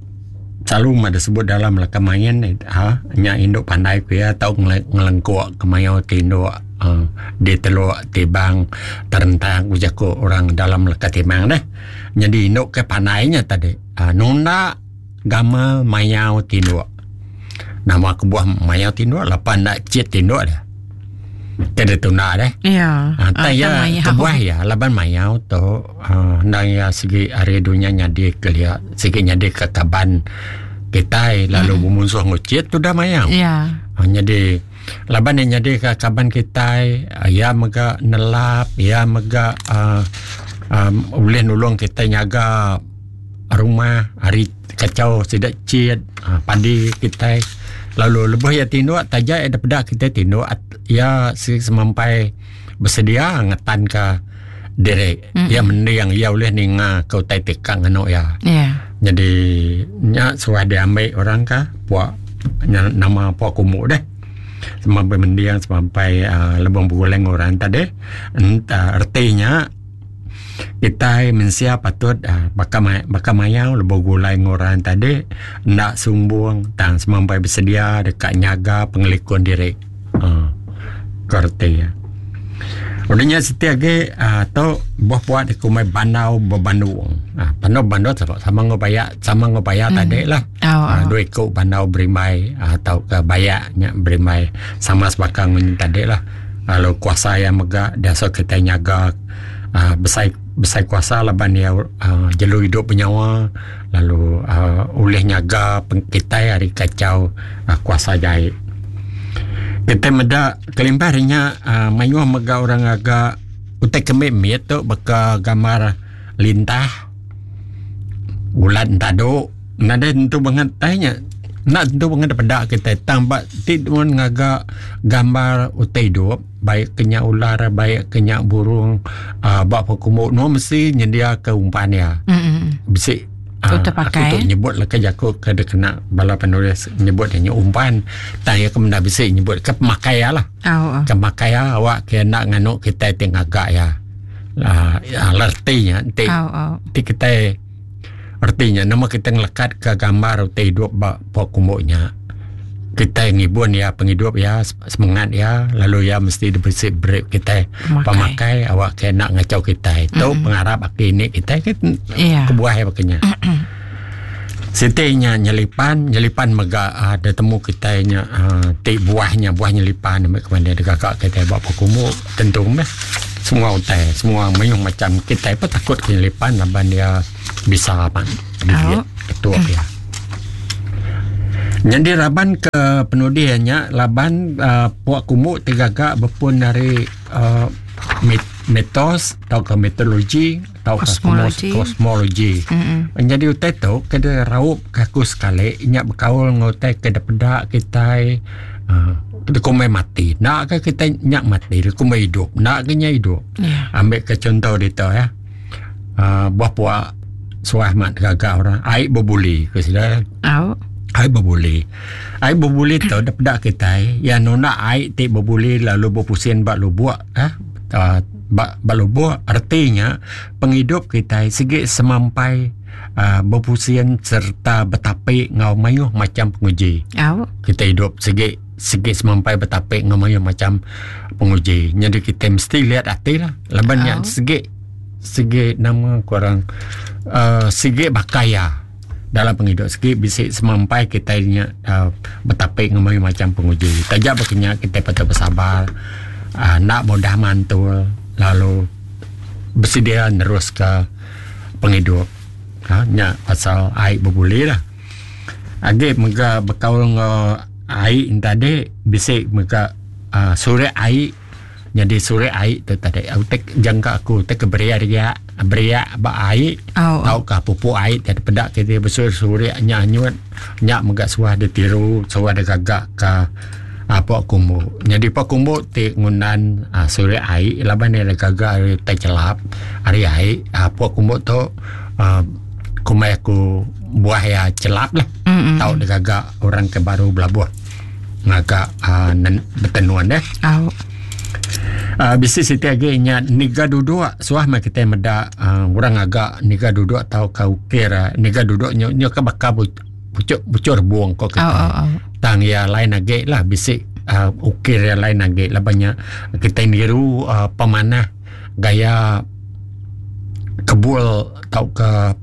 selalu ada sebut dalam leka main ha nya indu pandai ku iya tau ngelengkuk ke mayuh ti indu uh, di teluk tibang terentang ku jaku orang dalam leka timang deh. Jadi indu ke pandai nya tadi uh, nunda gamal mayau tinduk. Nama kebuah mayau tinduk lapan nak cit tinduk dia. Tiada tunda deh. Ya. Ha, tak ya, kebuah ya, laban mayau tu uh, ndang ya segi hari dunia nyadi ke lia, segi nyadi ke kaban kitai lalu mm. bermusuh ngucit tu dah mayau. Ya. Ha, jadi laban yang nyadi ke kaban kitai, ya mega nelap, ya mega uh, um, boleh nulung kita nyaga rumah hari kacau sida cit uh, padi kitai. Lalu lebuh ya tinduk taja ya peda kita tinduk ya semampai bersedia ngetan ke diri. Mm-mm. Ya mending ya boleh ninga ke utai tikang anu ya. Ya. Jadi nya suah diambil orang ka puak nya, nama puak kumuk deh. Semampai mending semampai uh, lebong berguleng orang tadi. Entah artinya kitai mensia patut uh, baka baka mayau lebuh gulai orang tadi ndak sumbung tang semampai bersedia dekat nyaga pengelikun diri. Uh, kerti ya. Udahnya seti agi uh, tu buah puak di kumai bandau berbandung. Uh, bandau bandau sama sama ngobaya sama ngobaya mm. tadi lah. Oh, Uh, dua iku bandau berimbai atau ke bayaknya berimbai sama sebakang tadi lah. Lalu kuasa yang mega biasa kita nyaga uh, besai besai kuasa laban dia uh, jelu hidup bernyawa lalu uh, oleh nyaga kita hari kacau uh, kuasa jahit. Kita meda kelimpah nya uh, mayuh mega orang agak utai kemik mit tu baka gambar lintah ulat taduk nadai tentu banget tanya nak tentu banget peda kita tang ba ti mun ngaga gambar utai hidup baik kenya ular baik kenya burung uh, ba pekumbu no mesti nyendia ke umpan ya. Mm-mm. Bisi Utai pakai, aku tu eh? nyebut lah ke jaku ke dia kena bala penulis nyebut dia umpan tang ya ke menda bisi nyebut ke pemakai ya lah. Oh. Ke pemakai ya awak ke nak nganu kita ti ngagak ya. Uh, ya lertinya ti Oh, oh. ti kita Reti nya nama kita ngelekat ka gambar utai idup ba pok kumbu nya. Kitai ngibun iya pengidup iya semengat iya lalu iya mesti dibisi beri kitai pemakai awak ke enda ngachau kitai. Tu pengarap aki ini kitai ke kebuah iya baka nya. Siti nya nyelipan, nyelipan mega uhh ditemu kitai nya uhh ti buah nya buah nyelipan meh ke mandi digaga kitai ba pok kumbu tentu meh semua utai semua mayuh macam kitai pun takut ke nyelipan laban iya bisa amat gigit ketuk iya. Nyadi raban ke penudi iya nya laban uhh pok kumbu ti gaga bepun ari uhh mitos tauka mitologi tauka Kosmologi. kosmologi. Nyadi utai tu ke diraup ke aku sekali nya bekaul enggau utai ke dipeda kitai uhh dikumbai mati. Enda ke kitai nya mati dikumbai idup enda ke nya idup. Ambi ke chunto ditu ya uhh buah pua suah amat gaga orang ai bebuli ku sida. Au. Ai bebuli. Ai bebuli tu dipeda kitai iya nunda ai ti bebuli lalu bepusin ba lubok uhh ba ba lubok reti nya pengidup kitai sigi semampai uhh bepusin sereta betapi enggau mayuh macam penguji. Au. Kitai idup sigi sigi semampai betapi enggau mayuh macam penguji. Nyadi kitai mesti liat ati lah laban nya sigi sigi nama ku orang uhh sigi baka iya dalam pengidup sigi bisi semampai kitai nya uhh betapi enggau mayuh macam penguji. Taja baka nya kitai patut besabar uhh enda mudah mantul lalu besedia neruska pengidup uhh nya pasal ai bebuli lah. Agi mega bekaul enggau ai tadi bisi mega uhh surik ai. Nyadi surik ai tu tadi utai jangka aku utai ke beriak riak beriak ba ai oh. tauka pupuk ai ti peda kiti besurik surik nya anyut nya mega suah ditiru suah digaga ka pok kumbu. Nyadi pok kumbu ti ngundan uhh surik ai laban iya digaga ari utai chelap ari ai uhh pok kumbu tu uhh kumbai aku buah iya chelap lah tau digaga orang ke baru belabuh. Ngaga uhh betenun deh. Au. Uhh bisi siti agi nya niga duduk suah meh kitai meda uhh orang ngaga niga duduk tauka ukir niga duduk nyu nyu ka baka puchuk puchuk rebung ko kitai. Au au. Tang iya lain agi lah bisi uhh ukir iya lain agi laban nya kitai niru uhh pemanah gaya kebul tauka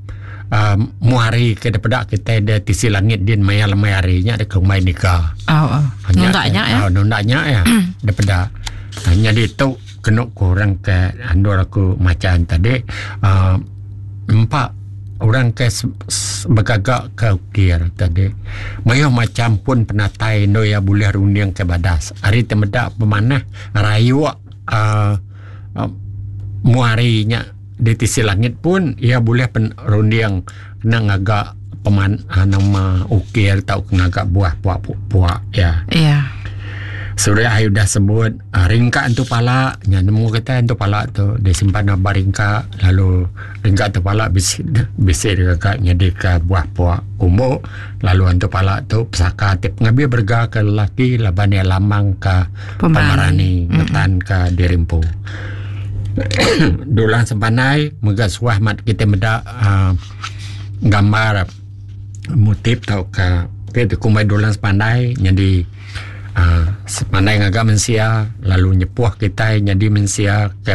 uhh mua hari ke dipeda kitai da tisi langit din maya lemai hari nya da kumbai nika. Oh, oh. Nunda nya ya. Oh, nunda nya ya dipeda. Nyadi tu kenu ku orang ke endur aku macha tadi uhh empa orang ke begaga ke ukir tadi mayuh macam pun penatai endur iya bulih runding ke badas. Ari ti meda pemanah rayuk uhh mua hari nya di tisi langit pun iya bulih pen runding kena ngaga peman nama ukir tauka ngaga buah puak puak iya. Iya. Suria ai udah sebut uhh ringka entu pala nya nemu kitai entu pala tu disimpan ba ringka lalu ringka entu pala bisi bisi digaga nyadika buah puak umbo lalu entu pala tu pesaka ti pengabi berega ke lelaki laban iya lambang ka pemerani ngetan ka diri empu. Dulang Sempanai mega suah mat kitai meda uhh gambar motif tauka ti dikumbai Dulang Sempanai nyadi uhh Sempanai ngaga mensia lalu nyepuh kitai nyadi mensia ke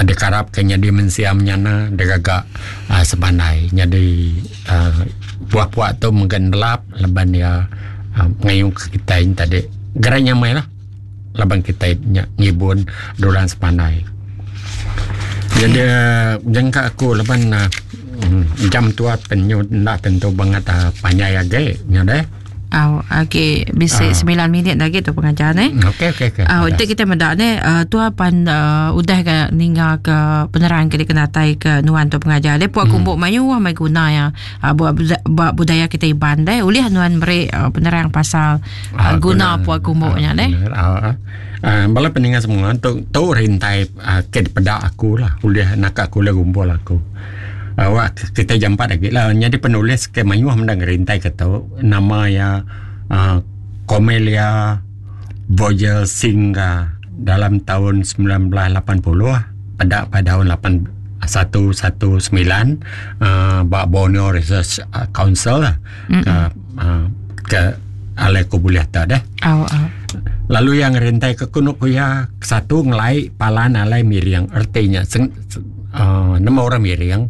dikarap ke nyadi mensia menyana digaga uhh Sempanai nyadi uhh puak puak tu mega nelap laban iya uhh ngayuh ke kitai tadi gerai nyamai lah. Laban kitai nya ngibun dulang sepandai. Jadi jangka aku laban uhh jam tua penyu enda tentu bangat uhh panjai agi nya deh. Au agi bisi semilan minit agi tu pengajar neh. Okey okey okey. Au enti kita meda neh uhh tua pan uhh udah ga ninga ke penerang ke dikenatai ke nuan tu pengajar deh puak kumbu mayuh meh guna iya ba budaya kitai Iban deh ulih nuan meri penerang pasal Ah, guna pua kumbu nya deh. Ah, ah, bala peninga semua tu tu rintai ah, ke dipeda aku lah ulih naka aku ulih gumpul aku. Awak kita jampat agi lah nyadi penulis ke mayuh menda ngerintai ke tu nama iya ah, Cormelia Vogel Singga dalam tahun 1980 peda pada tahun 8 119 ba Borneo Research Council lah ke ke alai ku bulih tu deh. Lalu iya ngerintai ke ku ku iya satu ngelai palan alai miring reti nya nemu orang miring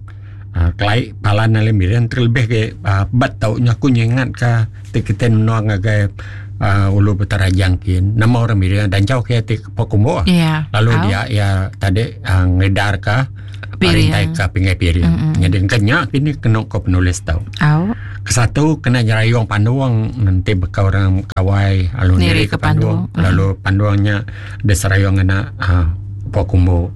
kelai palan alai miring terlebih agi bet tau nya aku ngingat ka ti kitai menua ngagai ulu Petarajang kin nama orang miring danjau ke ti Pakumbu lalu dia iya tadi ngedar ka rintai ka pingai piring. Nyadi engka nya kini kenu ko penulis tu. Kesatu kena nyerayung pandung enti baka orang kawai lalu niri ke pandung lalu pandung nya diserayung ngena uhh Pakumbu.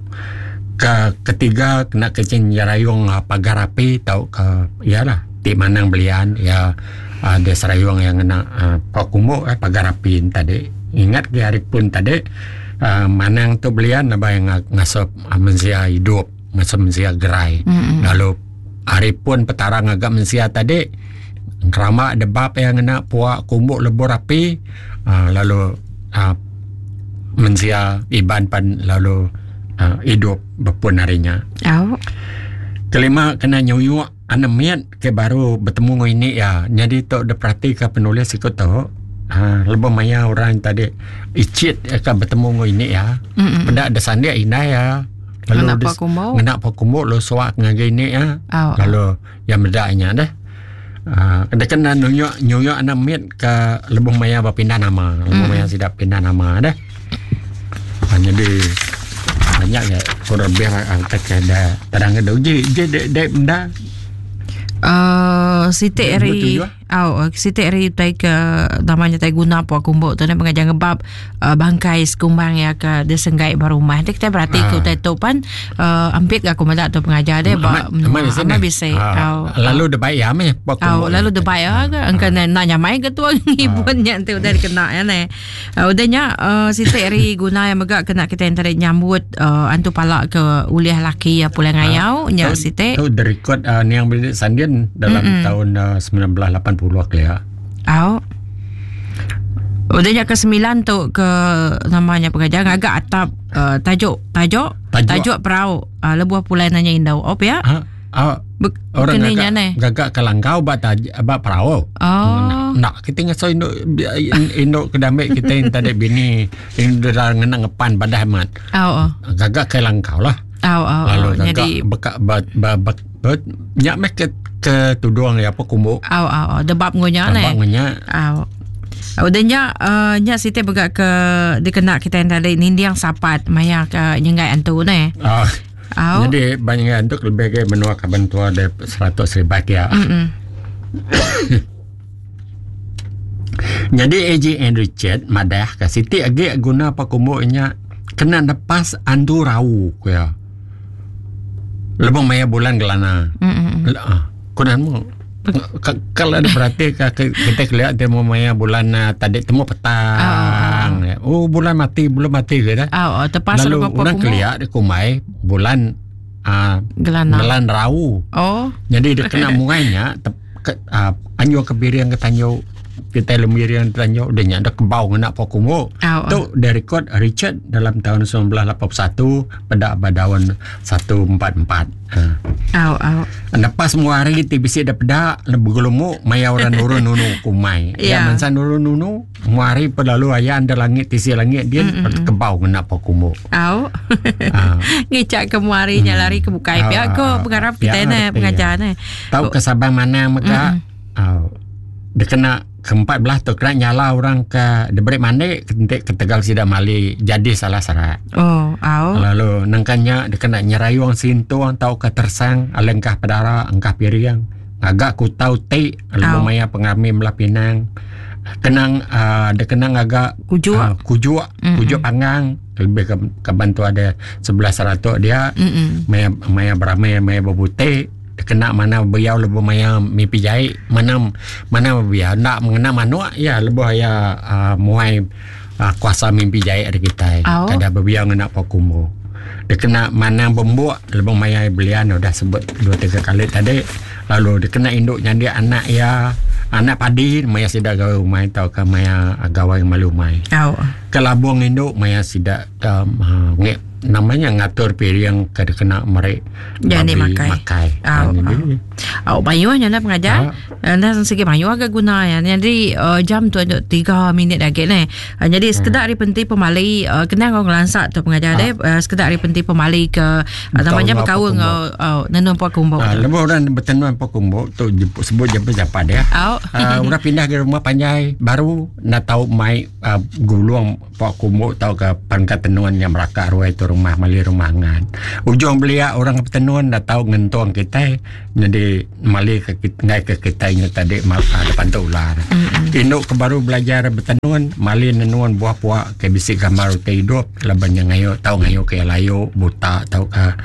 Ke ketiga kena ke nyerayung pagar api tauka iya lah ti manang belian iya uhh diserayung iya ngena uhh Pakumbu pagar api ne tadi. Ingat ke hari pun tadi uhh manang tu belian laban ngasuh mensia idup ngasuh mensia gerai lalu hari pun petara ngaga mensia tadi ngerama debab iya ngena pua kumbu lebur api uhh lalu uhh mensia iban pan lalu uhh idup bepun ari nya. Kelima kena nyuyuk anak mit ke baru betemu enggau ini iya nyadi tu diperatika penulis siku tu uhh lebuh maya orang tadi ichit ka betemu enggau ini iya peda da sandik indai iya lalu ngena pua kumbu lalu suak ngagai ini iya lalu iya meda nya deh uhh deka nunjuk nyuyuk anak mit ka lebuh maya ba pindah nama lebuh maya sida pindah nama deh. Nyadi banyak ga kurang lebih terang uji je dek benda. Uh, siti ari au siti ari utai ke nama nya tai guna pua kumbu tu ne pengajar ngebab uh, bangkai sekumbang ya ke disenggai ba rumah. Ti kita berati ke utai tu pan uh, ampit ga aku meda tu pengajar dia ba menua bisi. Au lalu debai ya meh pua kumbu. Au lalu debai ya ke engka enda nyamai ke tuang ngibun nya enti udah dikena ya ne. Udah nya siti ari guna iya mega kena kitai enti nyambut antu pala ke ulih laki iya pulai ngayau nya siti. Tu direkod niang Benedict Sandin dalam taun 1980 kelia. Au. Udah nya ke semilan tu ke nama nya pengajar ngaga atap tajuk tajuk tajuk perau lebuh pulai nanya indu. Oh pia? Ah, orang gaga, gaga ke langkau ba taj, ba perau. Oh. Nak kita ngaso indu indu ke dambek kita yang tadi bini indu dah ngena ngepan badah amat. Oh. Gaga ke langkau lah. Oh, oh, Lalu gaga jadi beka ba ba, ba, ba nyak meh ke ke tudung ya apa kumbu. Oh, oh, oh. Debab ngunya ne. Debab ngunya. Oh. Udah nya uh, nya siti mega ke dikena kita yang tadi ninding sapat maya ke nyenggai antu ne. Ah. Au. Jadi banyak untuk lebih ke menua kaban tua ada 100 ribu ya. Jadi AJ and Richard madah ke siti agi guna pakumbu nya kena nepas andu rau ku iya. Lebuh maya bulan gelana. Ah, ku nan Kalau ada berarti kita kelihat dia mau maya bulan uh, tadi temu petang. Oh, oh bulan mati belum mati ke dah. Oh, oh tepas Lalu orang kelihat dia kumai bulan uh, gelana. Gelan rau. Oh. Jadi dia kena muainya te, ke, uh, anyu ke biring ke tanyu kita lemiring tanyu dia nya ada kebau ngena pokumu. Oh, Tu dia rekod Richard dalam tahun 1981 pada badawan 144. Au au. Lepas semua hari ti bisi da peda begelumu maya orang nurun nunu kumai. Ya yeah. mansa nurun nunu semua hari pun lalu ayan da langit tisi langit dia mm-hmm. kebau ngena pa kumbu. Au. Ngicak ke muari nya lari ke bukai pia ko pengarap kita ne pengajar ne. Tau ke Sabang mana mega. Au. Dikena ke empat belah tu kena nyala orang ke diberi mandi enti ketegal sida mali jadi salah serak. Oh, au. Lalu nengkan nya dikena nyerayung sintung tauka tersang alai engkah pedara engkah piring ngaga kutau ti lebuh maya pengerami melah pinang kenang uh, dikena ngaga kujuk uh, kujuk mm-hmm. kujuk panggang lebih ke kaban tu ada sebelah seratuk dia mm-hmm. maya maya beramai maya berbutik Kena mana beliau lebuh maya mimpi jai mana mana beliau enda mengena manuk iya lebuh iya uh, muai uh, kuasa mimpi jai ari kitai kada bebiau ngena pua kumbu. Dikena manang bembuk lebuh maya belian udah sebut dua tiga kali tadi lalu dikena indu nyandik anak iya anak padi maya sida gawai umai tauka maya gawai malu umai. Kelabung indu maya sida um, uh, ngek. Nama nya ngatur piring ke dikena meri babi makai. makai. Au, au. Au mayuh nya dah pengajar. Enda segi mayuh ga guna ya. Jadi uh, jam tu 3 minit lagi neh. Uh, jadi sekeda hari penti pemali uh, kena ngau ngelansa tu pengajar deh. Uh, sekeda hari penti pemali ke uh, namanya bekaul ngau uh, nenun puak kumbuk. Uh, lebuh orang betenun puak kumbuk tu sebut je siapa dia. Au. Uh, orang pindah ke rumah panjai baru nak tahu mai uh, gulung Pok kumbu tauka pangkat tenun nya meraka ruai tu rumah mali rumah angan. Ujung belia orang ke betenun enda tau ngentung kitai nyadi mali ke enggai ke kitai nya tadi depan tu ular. Indu ke baru belajar betenun mali nenun buah pua ke bisi gambar utai idup laban nya ngayu tau ngayu ke layu buta tauka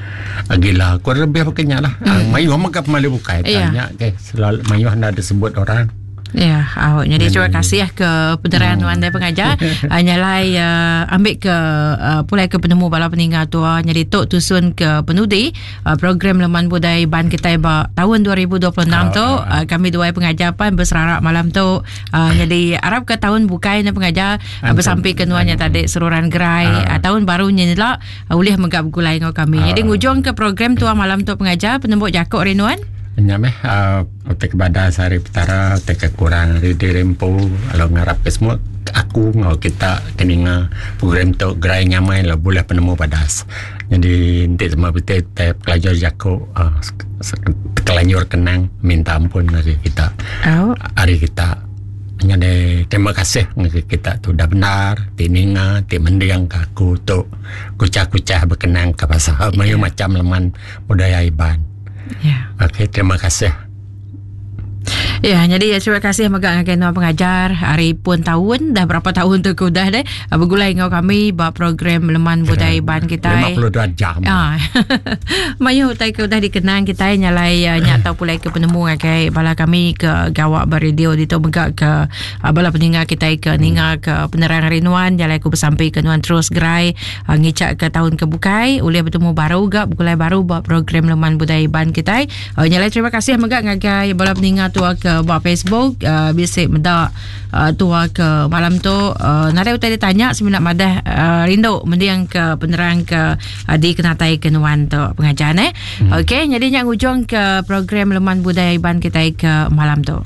gila. Kurang lebih baka nya lah. Mayuh mega pemali bukai tanya ke selalu mayuh enda disebut orang. Ya, awak jadi terima kasih ke penerangan hmm. tuan dan pengajar. Uh, nyalai uh, ambil ke uh, pulai ke penemu bala peninggal tua. Jadi tok tusun ke penudi uh, program Leman Budaya Iban kita ba tahun 2026 uh, tu uh, kami dua pengajar pan berserarak malam tu. Uh, jadi harap ke tahun bukai ni pengajar uh, bersampai ke nuannya tadi seruran gerai uh. Uh, tahun baru nya lah uh, ulih megap gulai ngau kami. Uh. Jadi ngujung ke program tua malam tu pengajar penembuk jakuk rinuan. Nya meh uh, Utai ke badas ari Petara, utai ke kurang ari diri empu lalu ngarap ke semua aku enggau kita ke ninga program tu gerai nyamai lalu bulih penemu badas. Nyadi enti sema bisi utai pelajar jaku uhh tekelanjur kenang minta ampun ngagai kita ari kita. Nyadi terima kasih ngagai kita tu udah bendar ti ninga ti mending ka aku tu kuchah-kuchah bekenang ka pasal mayuh macam leman budaya Iban. Ya. Okey, terima kasih. Ya, jadi ya, terima kasih mega ngagai nuan pengajar hari pun tahun dah berapa tahun tu ke udah deh ah, begulai enggau kami ba program Leman Budaya Iban kita. 52 jam. Ah. Mayuh utai ke udah dikenang kita nyalai uh, nya tau pulai ke penemu ngagai bala kami ke gawa ba radio ditu mega ke uh, bala peninga kita ke ninga ke penerang hari nuan nyalai aku besampi ke nuan terus gerai Ngichak ke taun ke bukai ulih betemu baru ga begulai baru ba program Leman Budaya Iban kitai. Uh, nyalai terima kasih mega ngagai bala peninga tua ke ba Facebook uh, bisi meda uh, tua ke malam tu uh, nadai utai ditanya semina madah uh, rindu mending ke penerang ke uh, dikenatai ke nuan tu pengajar eh. Hmm. Okey, jadi nya ngujung ke program Leman Budaya Iban kitai ke malam tu.